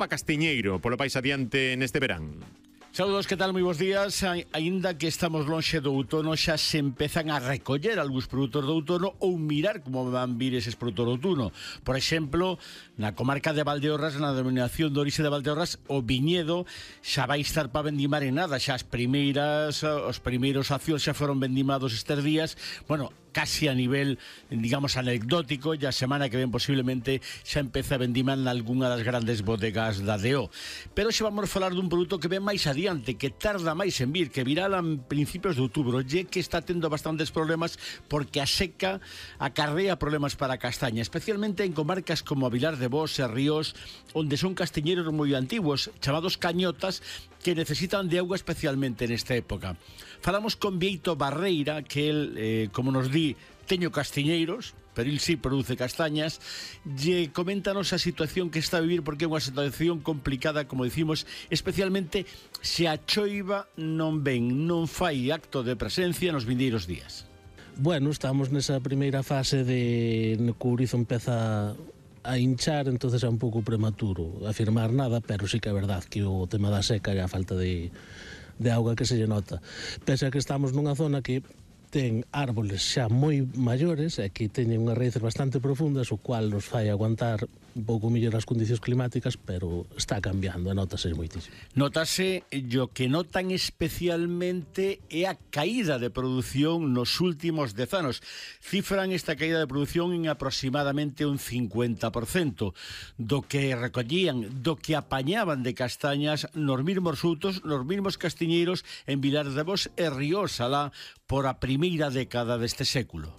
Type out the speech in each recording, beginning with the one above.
Mapa Castiñeiro polo país adiante neste verán. Saúdos, que tal? Moi bons días. Aínda que estamos lonxe do outono, xa se empezan a recoller algúns produtos do outono ou mirar como van vir eses produtos do outono. Por exemplo, na comarca de Valdeorras, na denominación de orixe de Valdeorras, o viñedo xa vai estar para vendimar en nada. Xa os primeiros accións xa foron vendimados estes días. Bueno, casi a nivel, digamos, anecdótico, e a semana que ven posiblemente xa empeza a vendimar en algunha das grandes bodegas da DO. Pero xa vamos a falar dun produto que ven máis adiante, que tarda máis en vir, que virá a principios de outubro, e que está tendo bastantes problemas porque a seca acarrea problemas para a castaña, especialmente en comarcas como a Vilar de Bos e Ríos, onde son castiñeiros moi antigos, chamados cañotas, que necesitan de auga especialmente nesta época. Falamos con Bieito Barreira, que el, como nos di, teño castiñeiros, pero el sí produce castañas, e coméntanos a situación que está a vivir, porque é unha situación complicada, como dicimos, especialmente se a choiva non non fai acto de presencia nos vindeiros días. Bueno, estamos nesa primeira fase de no que o ourizo empeza a hinchar, entonces é un pouco prematuro afirmar nada, pero sí que é verdad que o tema da seca e a falta de auga que se lle nota. Pese a que estamos nunha zona que ten árboles xa moi maiores e que teñen unhas raíces bastante profundas, o cual nos fai aguantar un pouco mellor as condicións climáticas, pero está cambiando e notase moitísimo. Notase, o que notan especialmente é a caída de produción nos últimos 10 anos. Cifran esta caída de produción en aproximadamente un 50% do que recollían, do que apañaban de castañas nos mesmos frutos, nos mesmos castiñeiros en Vilar de Bos e Ríos, alá por a primeira década deste século.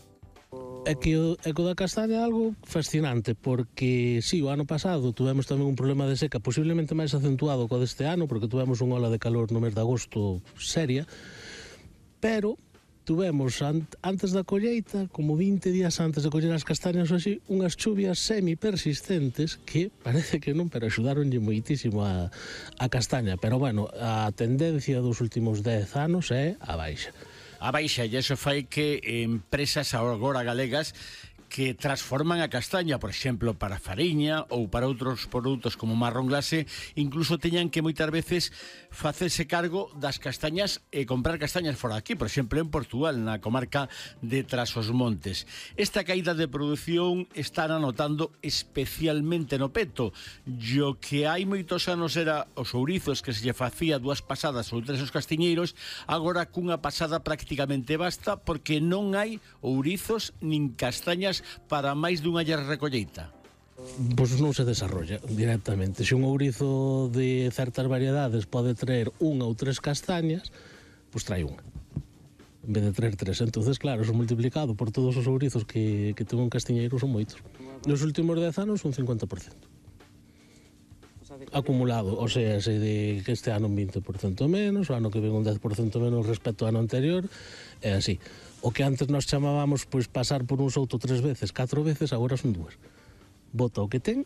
É que o eco da castaña é algo fascinante, porque sí, o ano pasado tuvemos tamén un problema de seca posiblemente máis acentuado co deste ano, porque tuvemos unha ola de calor no mes de agosto seria, pero tuvemos antes da colleita, como 20 días antes de coller as castañas ou así, unhas chuvias semi-persistentes que parece que non, pero axudaronlle moitísimo a castaña. Pero bueno, a tendencia dos últimos 10 anos é a baixa. A baixa, e iso fai que empresas agora galegas que transforman a castaña, por exemplo, para fariña ou para outros produtos como marrón glase, incluso teñan que moitas veces facerse cargo das castañas e comprar castañas fora aquí, por exemplo, en Portugal, na comarca de Trás-os-Montes. Esta caída de produción está anotando especialmente no peto, o que hai moitos anos era os ourizos que se lle facía 2 pasadas ou 3 os castiñeiros, agora cunha pasada prácticamente basta, porque non hai ourizos nin castañas para máis dunha recolleita. Pois non se desarrolla directamente. Se un ourizo de certas variedades pode traer unha ou 3 castañas, pois trae unha en vez de traer 3. Entonces, claro, eso multiplicado por todos os ourizos que ten un castiñeiro son moitos. Nos últimos 10 anos un 50% acumulado, o sea, se de que este ano un 20% menos, o ano que ven un 10% menos respecto ao ano anterior, é así. O que antes nos chamábamos pois pasar por un souto 3 veces, 4 veces, agora son 2. Bota o que ten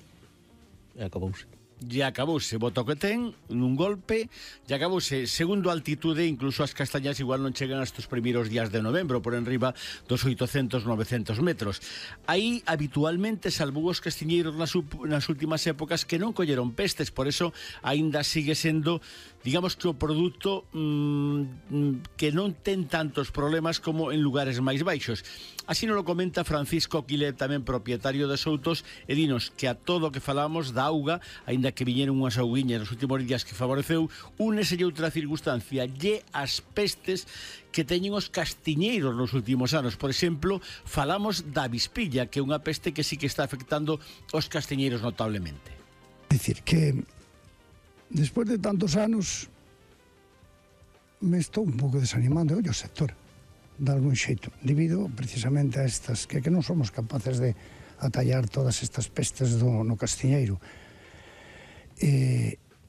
e acabouse. E acabouse, bota o que ten nun golpe e acabouse. Segundo a altitude, incluso as castañas igual non chegan hasta os primeiros días de novembro, por enriba dos 800-900 metros. Aí habitualmente salvou os castiñeiros nas últimas épocas que non colleron pestes, por eso aínda sigue sendo, digamos, que o produto que non ten tantos problemas como en lugares máis baixos. Así nos lo comenta Francisco Quile, tamén propietario de Soutos, e dinos que a todo o que falamos da auga, aínda que viñeron unhas auguiñas nos últimos días que favoreceu, úneselle outra circunstancia, lle as pestes que teñen os castiñeiros nos últimos anos. Por exemplo, falamos da avispilla, que é unha peste que sí que está afectando os castiñeiros notablemente. Dicir que despois de tantos anos me estou un pouco desanimando o sector de algún xeito, debido precisamente a estas que non somos capaces de atallar todas estas pestes no castiñeiro.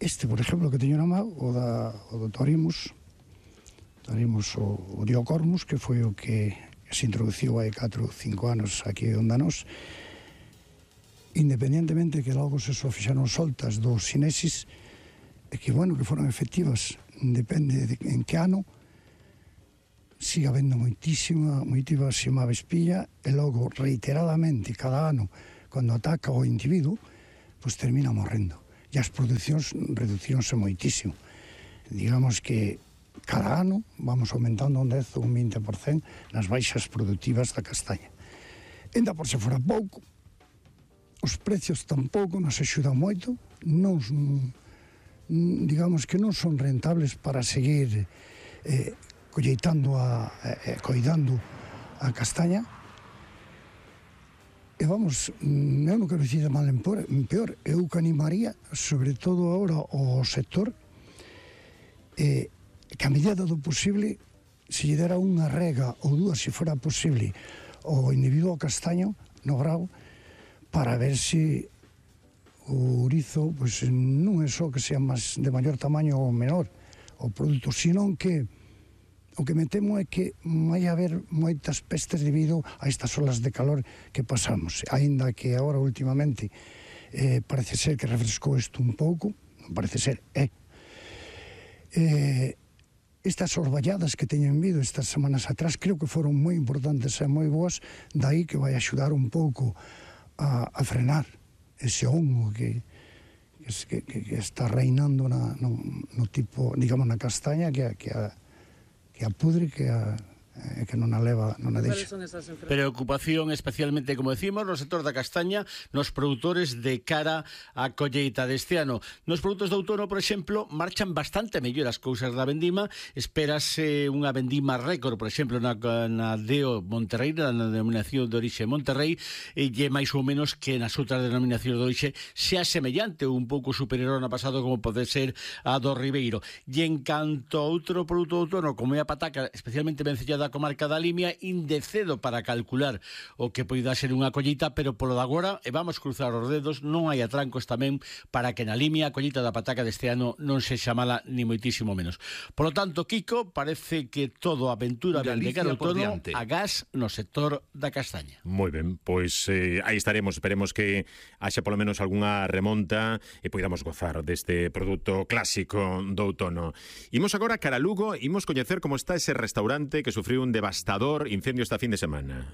Este, por exemplo, que teño na mão, o do Torimus, o Diocormus, que foi o que se introduciu hai 4 ou 5 anos aquí onde nós, independentemente que logo se só fixaron soltas dos sinesis, e que, bueno, que foron efectivas, depende de en que ano, siga habendo moitísima avispilla, e logo reiteradamente cada ano, cando ataca o individuo, pois termina morrendo. e as producións reducíronse moitísimo. Digamos que cada ano vamos aumentando un 10 ou un 20% nas baixas productivas da castaña. Ainda por se fora pouco, os precios tampouco nos axudan moito, digamos que non son rentables para seguir colleitando coidando a castaña. E vamos, eu non quero dicir de mal en peor, eu que animaría, sobre todo agora, o sector, que a medida do posible, se lle dera unha rega ou dúas, se fora posible, o individuo castaño no grau, para ver se o ourizo pois, non é só que sea de maior tamaño ou menor o produto, senón que o que me temo é que vai haber moitas pestes debido a estas olas de calor que pasamos, aínda que agora últimamente parece ser que refrescou isto un pouco, non parece ser, estas orballadas que teñen vido estas semanas atrás creo que foron moi importantes e moi boas, daí que vai axudar un pouco a frenar ese hongo que está reinando no tipo, digamos, na castaña que a pudre, que non a leva, non a deixa. Preocupación especialmente, como decimos, no sector da castaña, nos produtores de cara á colleita deste ano. Nos produtos de outono, por exemplo, marchan bastante mellor as cousas da vendima. Espérase unha vendima récord, por exemplo, na DEO Monterrey, na denominación de orixe Monterrey, e máis ou menos que nas outras denominacións de orixe sea semellante ou un pouco superior ao ano pasado, como pode ser a do Ribeiro. E en canto a outro produto de outono, como é a pataca, especialmente vencellada a comarca da Limia, indecedo para calcular o que poida ser unha colleita, pero polo de agora, e vamos cruzar os dedos, non hai atrancos tamén para que na Limia a colleita da pataca deste ano non sexa mala ni moitísimo menos. Por lo tanto, Kiko, parece que todo a aventura ben de cara outono a gas no sector da castaña. Moi ben, pois aí estaremos, esperemos que haxa polo menos algunha remonta e poidamos gozar deste produto clásico do outono. Imos agora cara a Lugo, imos coñecer como está ese restaurante que sufriu un devastador incendio esta fin de semana.